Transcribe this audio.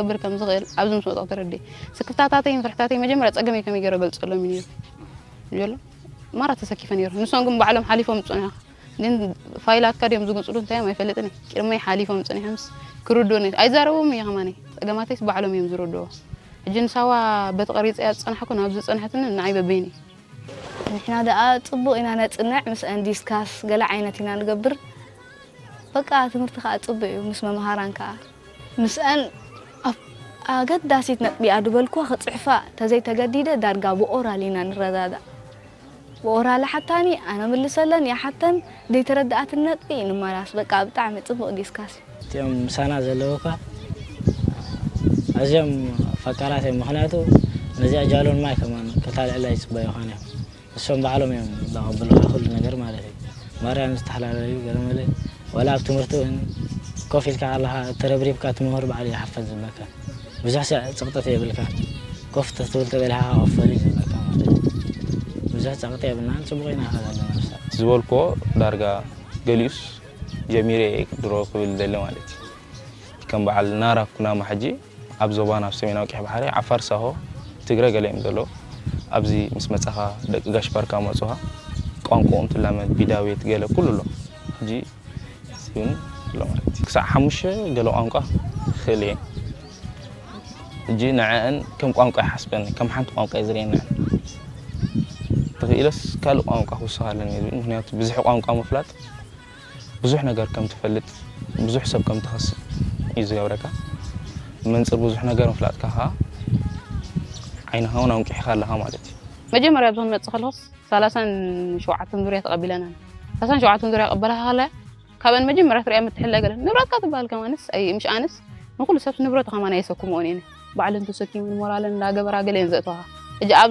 ክገብር ከም ዝኽእል ኣብዚ ምስ መጻኹ ተረዲኤ። ስክፍታታተይን ፍርሕታተይን መጀመርያ ጸገመይ ከመይ ገይረ ገልጸሎም እዩ ነይሩ። ጀሎ ማራ ተሰኪፈ ነይሩ። ንሶም ግን ባዕሎም ሓሊፎም ዝጸንሑ። ግን ፋይላትካ ድዮም ዝግንጽሉ እንታይ እዮም ኣይፈልጥን እየ። ቅድመይ ሓሊፎም ጸኒሖምስ ክርድኡኒ ኣይዛረብዎም እየ ከማኒ። ጸገማተይስ ባዕሎም እዮም ዝርድዎ። ሕጂ ንሳዋ በቲ ቀሪጸያ ዝጸናሕኩ ናብዚ ዝጸንሐትኒ ንዓይ በበይኒ። ንሕና ደኣ ጽቡቕ ኢና ነጽንዕ፣ ምስአን ዲስካስ ገለ ዓይነት ኢና ንገብር። በቃ ትምህርቲ ከኣ ጽቡቕ እዩ ምስ መምሃራን ከኣ። ምስአን ኣብ ኣገዳሲት ነጥቢ እያ ዝበልኩዋ ክጽሕፋ ተዘይተገዲደ ዳርጋ ብኦራል ኢና ንረዳዳእ። ብኦራል ሓታኒ ኣነ ምልሰለን እያ ሓተን ዘይተረዳኣትን ነጥቢ ንመላስ። በቃ ብጣዕሚ ጽቡቕ ዲስካስ እዩ። እቲኦም ምሳና ዘለዉ እኳ ኣዝዮም ፈቃራት እዮም። ምኽንያቱ ነዚኣ ጃሎን ማይ ከማን ከታልዕላ ይጽበዩ ኾነ እዮም። እሶም ባዕሎም እዮም ዘቐብሉኻ ኩሉ ነገር ማለት እዩ። ማርያም ዝተሓላለዩ ገለ መለ ዋላ ኣብ ትምህርቲ እውን ኮፍ ኢልካ ኣለኻ ተረብሪብካ ትምህር ባዕሉ ይሓፈዝ ዝብለካ። ብዙሕ ሰ- ጽቕጥት የብልካ። ኮፍ ትብል ተበልሃ ኮፈል እዩ ዝብለካ ማለት እዩ። ብዙሕ ጸቕጢ የብልናን ጽቡቕ ኢና ከለና። ዝበልኮ ዳርጋ ገሊኡስ ጀሚረ ድሮ ክብል ደለ ማለት እዩ። ከም በዓል ናራ ኩናማ ሕጂ ኣብ ዞባና ኣብ ሰሜናዊ ቀይሕ ባሕሪ ዓፋር ሳሆ ትግረ ገለ እዮም ዘለዉ። ኣብዚ ምስ መጻኻ ደቂ ጋሽ ባርካ መጹኻ ቋንቋኦም ትላመድ ቢዳቤት ገለ ኩሉ ኣሎ። ሕጂ እውን ኣሎ ማለት እዩ። ክሳዕ ሓሙሽተ ገለ ቋንቋ ክእል እየ። ሕጂ ንዐአን ከም ቋንቋ ይሓስበን ከም ሓንቲ ቋንቋ እየ ዝርእየን። ተኽኢለስ ካልእ ቋንቋ ክውስኽ ኣለኒ ዝብል ምክንያቱ ብዙሕ ቋንቋ ምፍላጥ ብዙሕ ነገር ከም ትፈልጥ ብዙሕ ሰብ ከም ትኸስብ እዩ ዝገብረካ። መንፅር ብዙሕ ነገር ምፍላጥካ ከዓ ዓይንኻ እውን ኣንቂሕካ ኣለኻ ማለት እዩ። መጀመርያ ብዞን መፅእ ከለኹስ ሰላሳን ሸውዓተን ዙርያ ተቐቢለና። ሰላሳን ሸውዓተን ዙርያ ቀበላኻ ከለ ካብን መጀመርያ ትሪያ ምትሕለ ገለ ንብረትካ ትበሃል ከማንስ ኣይ ምሽ ኣነስ ንኩሉ ሰብ ንብረቱ ከማን ኣየሰኩምኦን እየ። ባዕለን ተሰኪመን ሞራለን እንዳገበራ ገለ እየን ዘእተዋኻ። ሕጂ ኣብ